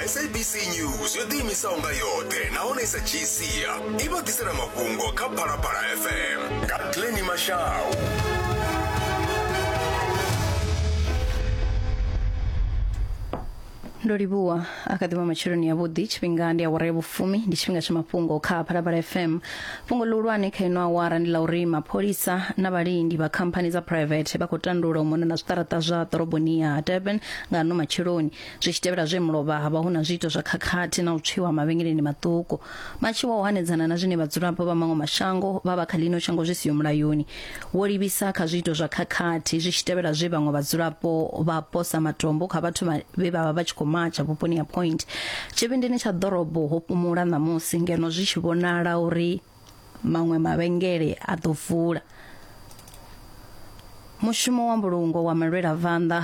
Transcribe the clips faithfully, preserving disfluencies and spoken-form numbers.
S A B C News yo ḓiimisaho nga yoṱhe nahone i sa dzhii sia i vha ḓisela mafhungo kha Phalaphala F M nga Glennie Mashau. Ndo livhuwa a kha ḓivha matsheloni avhuḓi. Tshifhinga ndi awara ya vhufumi, ndi tshifhinga tsha mafhungo kha Phalaphala F M. Fhungo ḽihulwane kha ino awara ndi ḽa uri mapholisa na vhalindi vha khamphani dza private vha khou tandula u mona na zwiṱaraṱa zwa ḓoroboni ya Durban nga ano matsheloni, zwi tshi tevhela zwe mulovha ha vha hu na zwiito zwa khakhathi na u tswiwa mavhengeleni maṱuku. Matshiwa u hanedzana na zwine vhadzulapo vha maṅwe mashango vha vha kha ḽino shango zwi siho mulayoni wo livhisa kha zwiito zwa khakhathi, zwi tshi tevhela zwe vhaṅwe vhadzulapo vha posa matombo kha vhathu vhe vha vha vha tshi khou matsha vhuponi ya Point. Tshivhindini tsha ḓorobo ho fhumula ṋamusi ngeno zwi tshi vhonala uri maṅwe mavhengele a ḓo vula. Mushumo wa mbulungo wa malwelavanḓa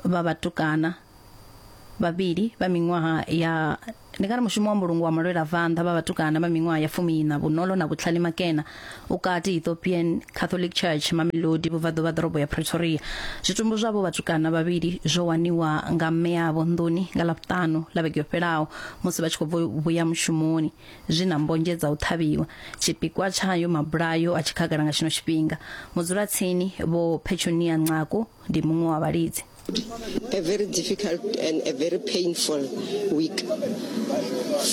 vha vhatukana vhavhili vha miṅwaha ya ndi nga ri mushumo wa mbulungo wa malwelavanḓa vha vhatukana vha miṅwaha ya fumiiṋa Vhunolo na Vhutlhali Makena ukati Ethiopian Catholic Church Mamelodi vhubvaḓuvha ḓorobo ya Pretoria. Zwitumbu zwavho vhatukana vhavhili zwo waniwa nga mme avho nḓuni nga Ḽavhuṱanu ḽa vhege yo fhelaho musi vha tshi khou vhuya mushumoni, zwi na mbonzhe dza u ṱhavhiwa. Tshipikwa tshayo mabulayo a tshi khagala nga tshino tshifhinga. Mudzulatsini Vho Petunia Nxaku ndi muṅwe wa vhalidzi. A very difficult and a very painful week.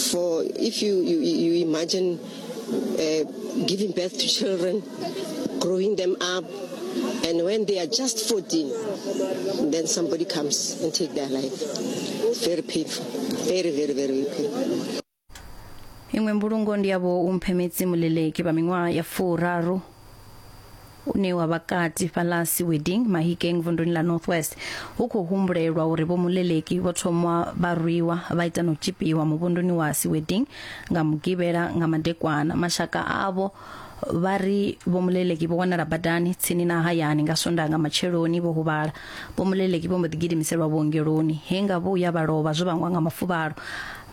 For if you, you, you imagine uh, giving birth to children, growing them up, and when they are just fourteen, then somebody comes and take their life. It's very painful, very, very, very painful. Iṅwe mbulungo ndi yavho Umphemetsi Muleleki vha miṅwaha ya furaru une wa vhakati fhalasi wedding Mahikeng vunduni ḽa North West. Hu khou humbulelwa uri Vho Muleleki vho thoma vha rwiwa vha ita no tshipiwa muvhunduni wa si wedding nga mugivhela nga madekwana. Mashaka avho vha ri Vho Muleleki vho wanala badani tsini na hayani nga Sondaha nga matsheloni vho huvhala. Vho Muleleki vho mbo ḓi gidimiselwa vhuongeloni he nga vhuya vha lovha zwo vhangwa nga mafuvhalo.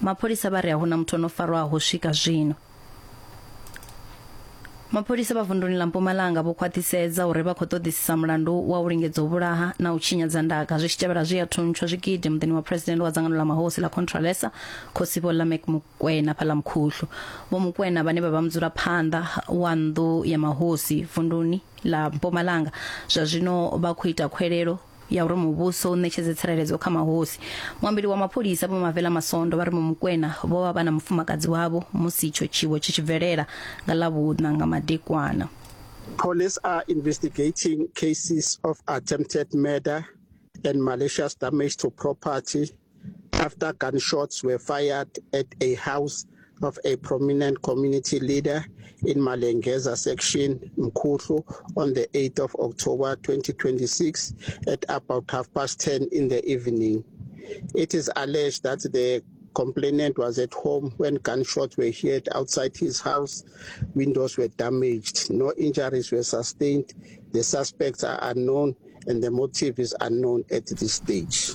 Mapholisa vha ri a huna muthu o no farwaho swika zwino. Mapholisa vha vunduni ḽa Mpumalanga vho khwaṱhisedza uri vha khou ṱoḓisisa mulandu wa u lingedza u vhulaha na u tshinyadza ndaka zwi tshi tevhela zwi a thuntshwa zwigidi muḓini wa president wa dzangano ḽa mahosi ḽa Contralesa Khosi Vho Lameck Mukwena fhaḽa Mkhuhlu. Vho Mukwena vhane vha vha mudzulaphanḓa wa nnḓu ya mahosi vunduni ḽa Mpumalanga zwa zwino vha khou ita khwelelo ya uri muvhuso u ṋetshedze tsireledzo kha mahosi. Muambeli wa mapholisa Vho Mavela Masondo vha ri Mukwena vho vha vha na mufumakadzi wavho musi itsho tshiwo tshi tshi bvelela nga Ḽavhuṋa nga madekwana. Police are investigating cases of attempted murder and malicious damage to property after gunshots were fired at a house of a prominent community leader in Malengeza section, Mkhuhlu, on the eighth of October twenty twenty-six at about half past ten in the evening. It is alleged that the complainant was at home when gunshots were heard outside his house. Windows were damaged. No injuries were sustained. The suspects are unknown and the motive is unknown at this stage.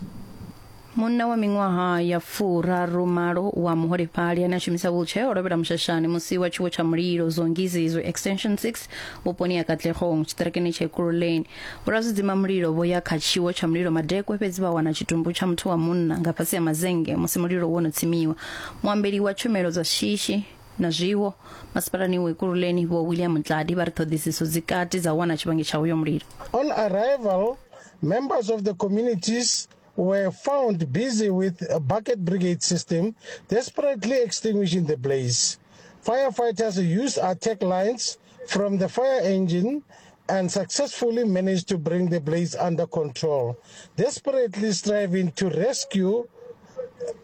Munna wa miṅwaha ya furaru malo wa muholefhali ane a shumisa wheelchair o lovhela mushashani musi wa tshiwo tsha mulilo Zongizizwe Extension six vhuponi ya Katlehong tshiṱirikini tsha Ekurhuleni. Vhorazwidzima mulilo vho ya kha tshiwo tsha mulilo madekwe fhedzi vha wana tshitumbu tsha muthu wa munna nga fhasi ha mazenge musi mulilo wo no tsimiwa. Muambeli wa tshumelo dza shishi na zwiwo masipalani wa Ekurhuleni Vho William Ntladi vha ri ṱhoḓisiso dzi kati dza wana tshivhangi tsha uyo mulilo. On arrival, members of the communities were found busy with a bucket brigade system, desperately extinguishing the blaze. Firefighters used attack lines from the fire engine and successfully managed to bring the blaze under control, desperately striving to rescue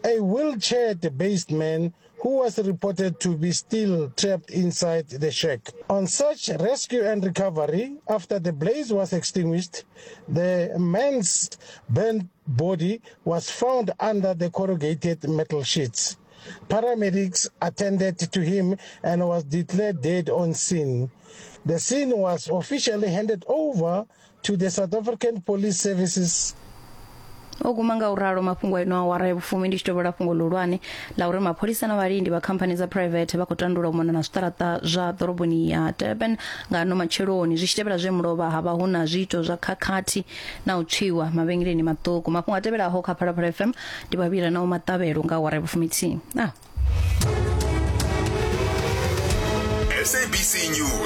a wheelchair-based man who was reported to be still trapped inside the shack. On search, rescue and recovery, after the blaze was extinguished, the man's burnt body was found under the corrugated metal sheets. Paramedics attended to him and was declared dead on scene. The scene was officially handed over to the South African Police Services. O guma nga u ralo mafhungo ino awara ya vhufumi. Ndi tshi tovhola fhungo ḽihulwane ḽa uri mapholisa na vhalindi vha khamphani dza private vha khou tandula u mona na zwiṱaraṱa zwa ḓoroboni ya Durban nga ano matsheloni, zwi tshi tevhela zwe mulovha ha vha hu na zwiito zwa khakhathi na u tswiwa mavhengeleni maṱuku. Mafhungo a tevhelaho kha Phalaphala F M ndi vhavhila na u maṱavhelo nga awara ya vhufumithihi. Ah. S A B C News.